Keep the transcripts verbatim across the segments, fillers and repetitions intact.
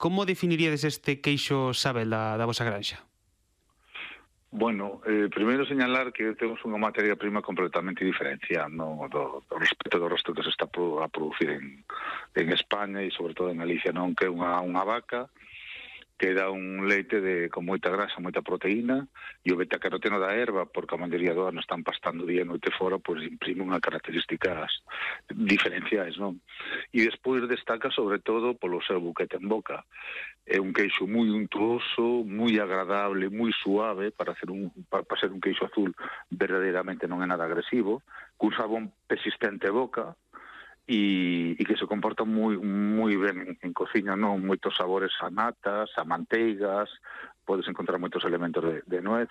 Como definiríades este queixo Sabel da, da vosa granxa? Bueno, eh, primeiro señalar que temos unha materia prima completamente diferenciada, no, do, do respecto do resto que se está a producir en, en España e sobre todo en Galicia, non, que é unha, unha vaca que dá un leite de, con moita grasa, moita proteína, e o betacaroteno da erva, porque a maioría do ano están pastando día e noite fora, pois imprime unhas características diferenciais, non? E despois destaca sobre todo polo seu buquete en boca. É un queixo moi untuoso, moi agradable, moi suave, para hacer un para, para ser un queixo azul verdadeiramente non é nada agresivo, cun sabón persistente boca, e, e que se comporta moi moi ben en, en cociña, non? Moitos sabores a natas, a manteigas, podes encontrar moitos elementos de, de nuez,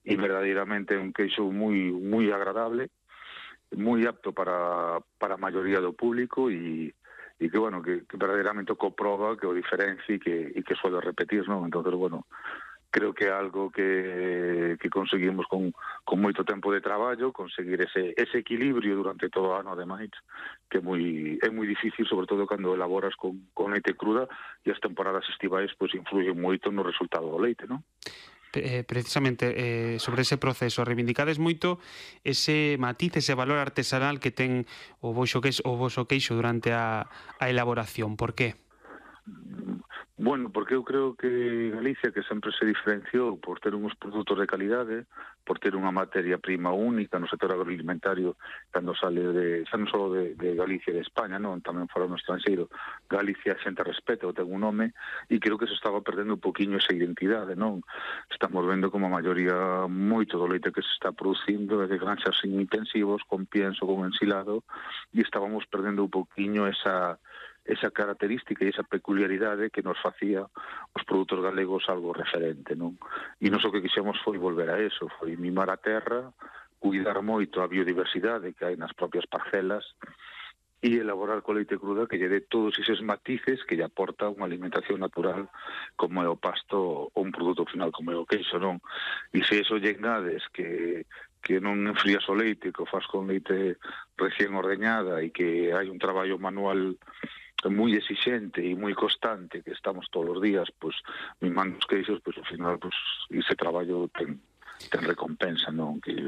e verdadeiramente é un queixo moi moi agradable, moi apto para, para a maioría do público, e e que, bueno, que, que verdadeiramente o comproba, que o diferencia e que, e que suele repetir, non? Entón, bueno, creo que é algo que, que conseguimos con, con moito tempo de traballo, conseguir ese, ese equilibrio durante todo o ano, ademais, que é moi, é moi difícil, sobre todo cando elaboras con, con leite cruda, e as temporadas estivais pois influyen moito no resultado do leite, non? Eh, precisamente eh, sobre ese proceso, reivindicades moito ese matiz, ese valor artesanal que ten o voso queixo, o voso queixo durante a, a elaboración. Por qué? Bueno, porque eu creo que Galicia, que sempre se diferenciou por ter uns produtos de calidade, por ter unha materia prima única no sector agroalimentario, cando sale de, xa non só de, de Galicia e de España, non, tamén fora no estranxeiro, Galicia xente respeta, ten un nome, e creo que se estaba perdendo un poquinho esa identidade, non? Estamos vendo como a maioría, moito do leite que se está producindo é de granxas intensivos, con pienso, con ensilado, e estábamos perdendo un poquinho esa esa característica e esa peculiaridade que nos facía os produtos galegos algo referente, non? E nos o que quixemos foi volver a eso, foi mimar a terra, cuidar moito a biodiversidade que hai nas propias parcelas e elaborar co leite cruda que lle dé todos eses matices que lle aporta unha alimentación natural como é o pasto ou un produto final como é o queixo, non? E se eso lle engades que que non enfrías o leite, que o faz con leite recién ordeñada e que hai un traballo manual moi exixente e moi constante, que estamos todos os días pois mimando os queixos, pois ao final pois ese traballo ten, ten recompensa, non? Que,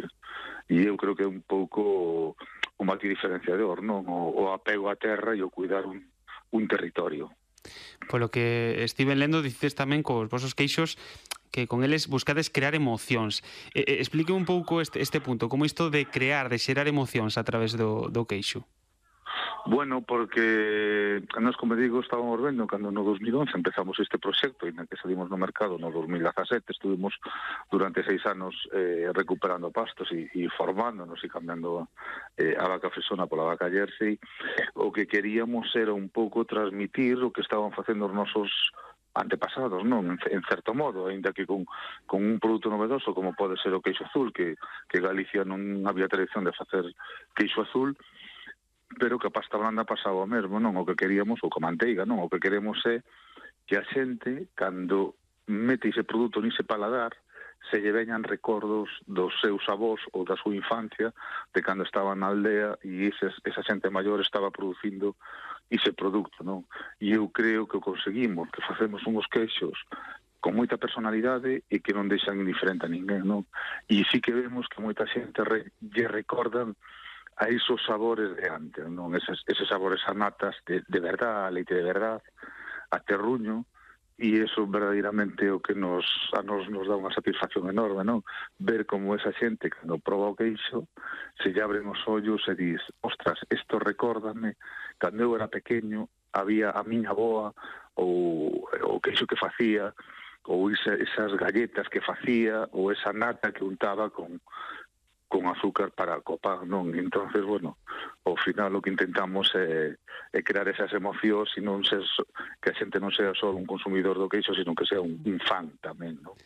e eu creo que é un pouco o matiz diferenciador, non? O, o apego á terra e o cuidar un, un territorio. Polo que estive lendo, dices tamén cos vosos queixos que con eles buscades crear emocións. Eh, explique un pouco este, este punto, como isto de crear, de xerar emocións a través do, do queixo. Bueno, porque nós, como digo, estábamos vendo cando no dos mil once empezamos este proxecto e na que salimos no mercado no dos mil dezasete, estuvimos durante seis anos eh, recuperando pastos e, e formándonos e cambiando eh, a vaca fresona pola vaca jersey. O que queríamos era un pouco transmitir o que estaban facendo os nosos antepasados, non? En, en certo modo, ainda que con, con un produto novedoso como pode ser o queixo azul, que, que Galicia non había tradición de facer queixo azul, pero que a pasta blanda pasaba o mesmo, non? O que queríamos, ou con manteiga, non? O que queremos é que a xente, cando mete ese produto nese paladar, se lle veñan recordos dos seus avós ou da súa infancia, de cando estaba na aldea e ese, esa xente maior estaba producindo ese produto, non? E eu creo que o conseguimos, que facemos unhos queixos con moita personalidade e que non deixan indiferente a ninguén, non? E sí que vemos que moita xente re, lle recordan a esos sabores de antes, non? Eses, eses sabores a natas de, de verdad, a leite de verdad, a terruño, e eso verdadeiramente o que nos a nos nos dá unha satisfacción enorme, non? Ver como esa xente, cando proba o queixo, se lle abren os ollos e dis, ostras, isto recórdame, cando eu era pequeño, había a miña aboa, ou o queixo que facía, ou esa, esas galletas que facía, ou esa nata que untaba con con azúcar para copar, non? Entonces, bueno, ao final o que intentamos é, é crear esas emocións e non ser, que a xente non sea só un consumidor do queixo, sino que sea un, un fan tamén, non?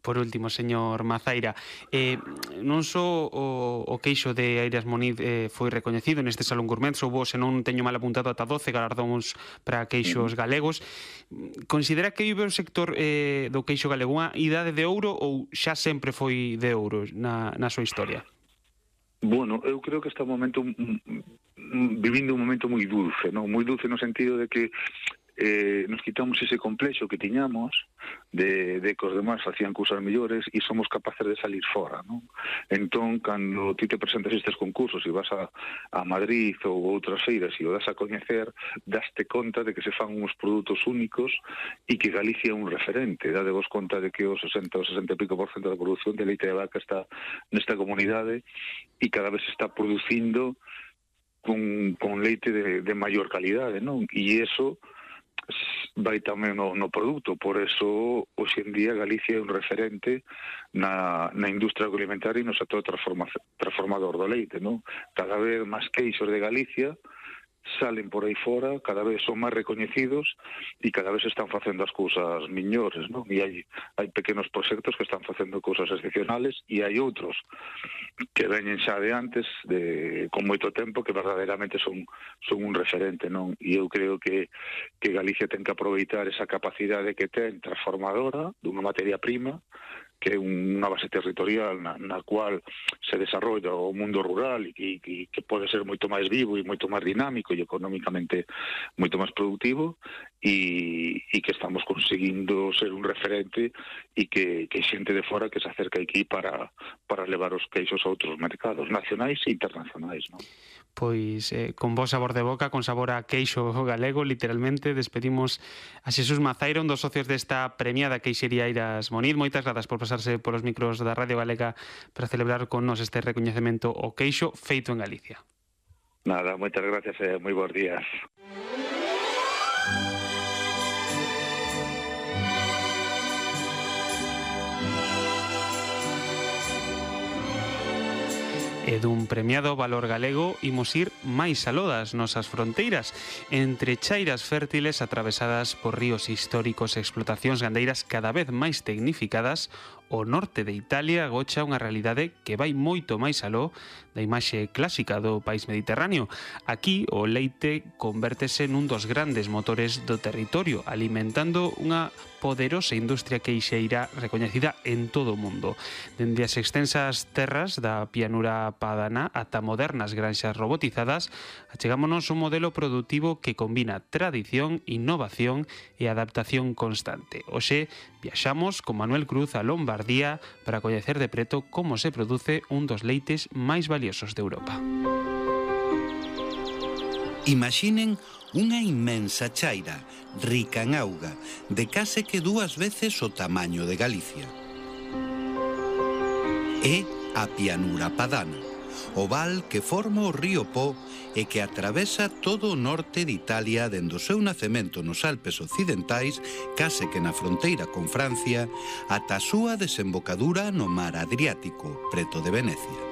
Por último, señor Mazaira, eh, non só o, o queixo de Airas Moniz eh, foi recoñecido neste Salón Gourmet, soubo, se non teño mal apuntado, ata doce galardóns para queixos galegos. Considera que hai o sector eh, do queixo galego unha idade de ouro ou xa sempre foi de ouro na, na súa historia? Bueno, eu creo que está un momento mm, mm, vivindo un momento moi dulce, non? Moi dulce no sentido de que eh, nos quitamos ese complexo que tiñamos de, de que os demás facían cousas mellores e somos capaces de salir fora, non? Entón, cando ti te presentas estes concursos e vas a, a Madrid ou outras feiras e o das a coñecer, daste conta de que se fan uns produtos únicos e que Galicia é un referente. Dade vos conta de que o sesenta ou sesenta e pico por cento da produción de leite de vaca está nesta comunidade e cada vez se está producindo con, con leite de, de maior calidade, non? E iso vai tamén no, no produto, por eso hoxe en día Galicia é un referente na, na industria agroalimentaria e no sector transformador do leite, non? Cada vez máis queixos de Galicia salen por aí fora, cada vez son máis recoñecidos e cada vez están facendo as cousas miñores, non? E hai, hai pequenos proxectos que están facendo cousas excepcionales e hai outros que veñen xa de antes, de, con moito tempo, que verdadeiramente son, son un referente, non? E eu creo que, que Galicia ten que aproveitar esa capacidade que ten transformadora dunha materia prima, que é unha base territorial na, na cual se desarrolla o mundo rural e que, que, que pode ser moito máis vivo e moito máis dinámico e económicamente moito máis productivo e, e que estamos conseguindo ser un referente e que, que xente de fora que se acerca aquí para, para levar os queixos a outros mercados nacionais e internacionais, non? Pois eh, con bo sabor de boca, con sabor a queixo galego, literalmente, despedimos a Xesús Mazaira, un dos socios desta premiada Queixería Airas Moniz. Moitas grazas por pasarse polos micros da Radio Galega para celebrar con nos este recoñecemento ao queixo feito en Galicia. Nada, moitas gracias e moi bons días. E dun premiado valor galego imos ir máis aló das nosas fronteiras, entre chairas fértiles atravesadas por ríos históricos e explotacións gandeiras cada vez máis tecnificadas. O norte de Italia agocha unha realidade que vai moito máis aló da imaxe clásica do país mediterráneo. Aquí o leite convértese nun dos grandes motores do territorio, alimentando unha poderosa industria queixeira recoñecida en todo o mundo. Dende as extensas terras da pianura padana ata modernas granxas robotizadas, achegámonos un modelo productivo que combina tradición, innovación e adaptación constante. Hoxe viaxamos con Manuel Cruz a Lombardía para coñecer de preto como se produce un dos leites máis valiosos de Europa. Imaginen unha inmensa chaira, rica en auga, de case que dúas veces o tamaño de Galicia. É a pianura padana, o val que forma o río Po e que atravesa todo o norte de Italia dende o seu nacemento nos Alpes occidentais, case que na fronteira con Francia, ata a súa desembocadura no mar Adriático, preto de Venecia.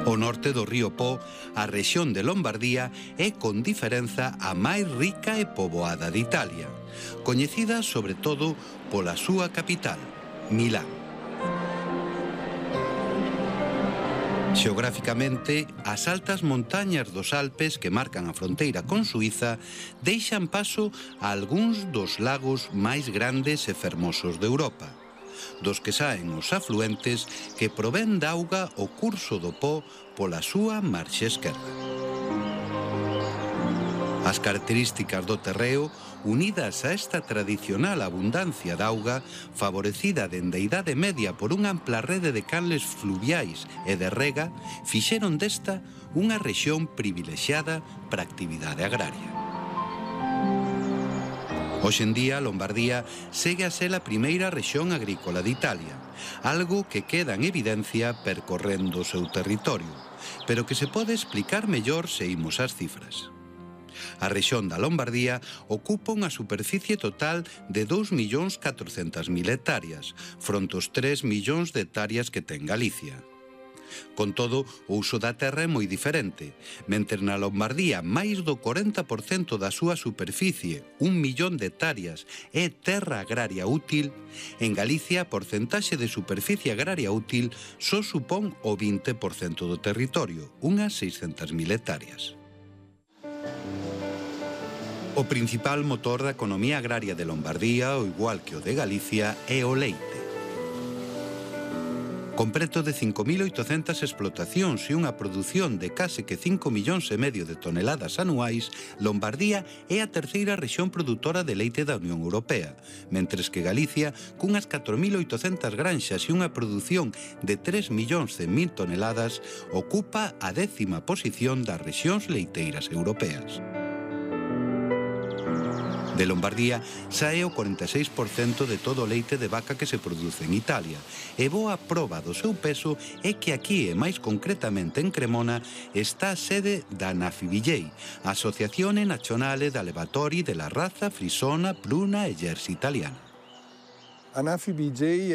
O norte do río Po, a rexión de Lombardía, é con diferenza a máis rica e poboada de Italia, coñecida sobre todo pola súa capital, Milán. Xeográficamente, as altas montañas dos Alpes que marcan a fronteira con Suíza deixan paso a algúns dos lagos máis grandes e fermosos de Europa, dos que saen os afluentes que provén da auga o curso do Po pola súa marxe esquerda. As características do terreo, unidas a esta tradicional abundancia de auga, favorecida dende a Idade Media por unha ampla rede de canles fluviais e de rega, fixeron desta unha rexión privilexiada para a actividade agraria. Hoxe en día, Lombardía segue a ser a primeira rexión agrícola de Italia, algo que queda en evidencia percorrendo o seu territorio, pero que se pode explicar mellor se imos ás cifras. A rexión da Lombardía ocupa unha superficie total de dous millóns catrocentas mil hectáreas, fronte aos tres millóns de hectáreas que ten Galicia. Con todo, o uso da terra é moi diferente. Mentre na Lombardía máis do corenta por cento da súa superficie, un millón de hectáreas, é terra agraria útil, en Galicia a porcentaxe de superficie agraria útil só supón o vinte por cento do territorio, unhas seiscentas mil hectáreas. O principal motor da economía agraria de Lombardía, ao igual que o de Galicia, é o leite. Con preto de cinco mil oitocentas explotacións e unha produción de case que cinco millóns e medio de toneladas anuais, Lombardía é a terceira rexión produtora de leite da Unión Europea, mentres que Galicia, cunhas catro mil oitocentas granxas e unha produción de tres millóns cen mil toneladas, ocupa a décima posición das rexións leiteiras europeas. De Lombardía sae o cuarenta e seis por cento de todo o leite de vaca que se produce en Italia, e boa proba do seu peso é que aquí, e máis concretamente en Cremona, está a sede da Anafibillei, a Asociazione Nazionale d'Allevatori della Razza Frisona, Bruna e Jersey italiana. A Anafibillei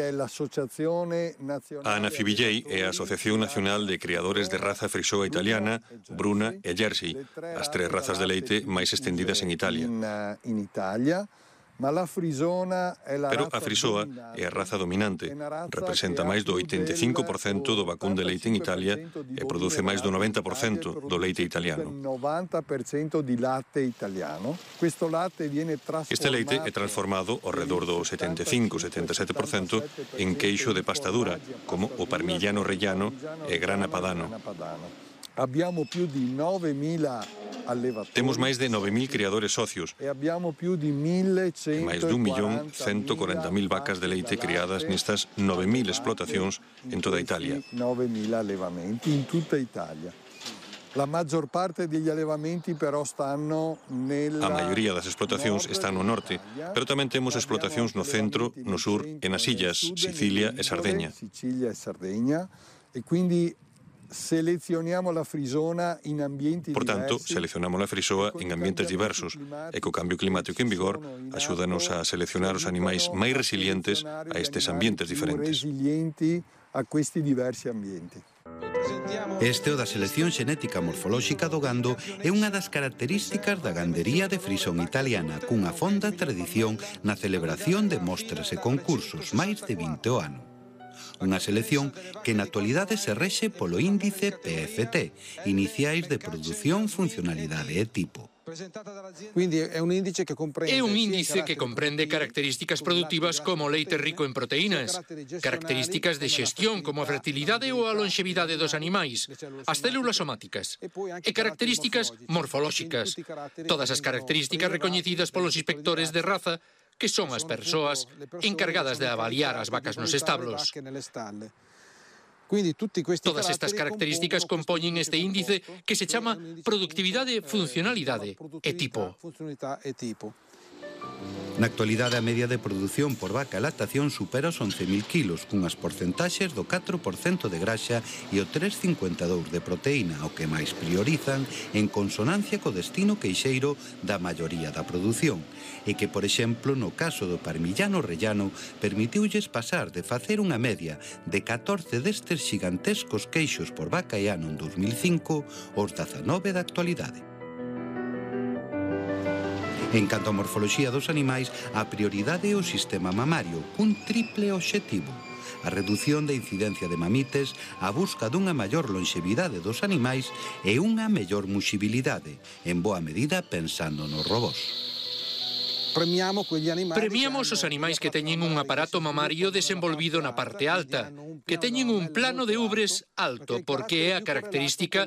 é a Asociación Nacional de Criadores de Raza Frisoa Italiana, Bruna e Jersey, as tres razas de leite máis estendidas en Italia. Pero a frisoa é a raza dominante, representa máis do oitenta e cinco por cento do vacún de leite en Italia e produce máis do noventa por cento do leite italiano. Este leite é transformado ao redor do setenta e cinco a setenta e sete por cento en queixo de pasta dura, como o parmigiano reggiano e grana padano. Temos máis de nove mil criadores socios e máis dun millón cento corenta mil vacas de leite criadas nestas nove mil explotacións en toda Italia. La maggior parte degli allevamenti però stanno nella... A maioría das explotacións están no norte, pero tamén temos explotacións no centro, no sur e nas illas, Sicilia e Sardeña. Sicilia e Sardeña, e quindi seleccionamos la frisona in ambienti Por tanto, diversi. seleccionamos a frisoa en ambientes diversos e co cambio climático en vigor axúdanos a seleccionar os animais máis resilientes a estes ambientes diferentes. A questi diversi ambienti. Este o da selección xenética morfolóxica do gando é unha das características da gandería de frisón italiana, cunha fonda tradición na celebración de mostras e concursos, máis de vinte o ano. Unha selección que na actualidade se rexe polo índice P F T, Iniciais de Produción, Funcionalidade e Tipo. É un índice que comprende características productivas como leite rico en proteínas, características de xestión como a fertilidade ou a longevidade dos animais, as células somáticas, e características morfolóxicas, todas as características recoñecidas polos inspectores de raza, que son as persoas encargadas de avaliar as vacas nos establos. Todas estas características compoñen este índice que se chama productividade, funcionalidade e tipo. Na actualidade, a media de produción por vaca e lactación supera os once mil kilos, cunhas porcentaxes do catro por cento de graxa e o tres vírgula cincuenta e dous de proteína, o que máis priorizan en consonancia co destino queixeiro da maioría da produción, e que, por exemplo, no caso do parmigiano reggiano, permitiulles pasar de facer unha media de catorce destes xigantescos queixos por vaca e ano en dos mil cinco aos dezanove da actualidade. En canto a morfoloxía dos animais, a prioridade é o sistema mamario, cun triple obxectivo: a redución da incidencia de mamites, a busca dunha maior longevidade dos animais e unha mellor muxibilidade, en boa medida pensando nos robós. Premiamos os animais que teñen un aparato mamario desenvolvido na parte alta, que teñen un plano de ubres alto, porque é a característica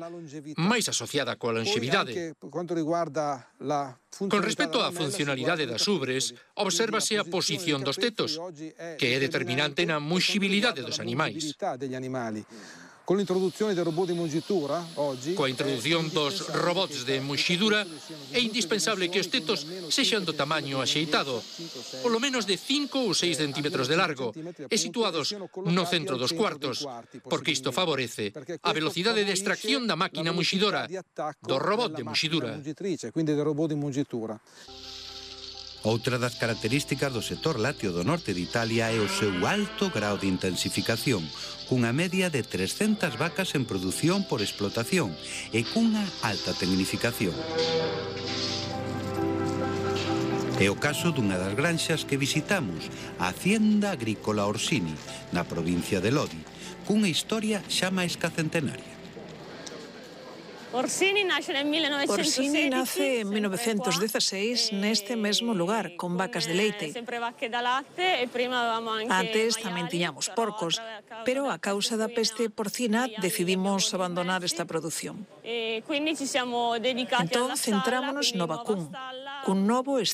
máis asociada coa longevidade. Con respecto á funcionalidade das ubres, obsérvase a posición dos tetos, que é determinante na muxibilidade dos animais. Coa introdución dos robots de muxidura, é indispensable que os tetos sexan do tamaño axeitado, polo menos de cinco ou seis centímetros de largo, e situados no centro dos cuartos, porque isto favorece a velocidade de extracción da máquina muxidora, do robot de muxidura. Outra das características do sector lácteo do norte de Italia é o seu alto grao de intensificación, cunha media de trescentas vacas en produción por explotación e cunha alta tecnificación. É o caso dunha das granxas que visitamos, a Hacienda Agrícola Orsini, na provincia de Lodi, cunha historia xa máis que centenaria. Orsini nace en mil novecientos dieciséis neste mesmo lugar, con vacas de leite. Antes tamén tiñamos porcos, pero a causa da peste porcina decidimos abandonar esta produción. Entón, centrámonos no vacún, cun novo estilo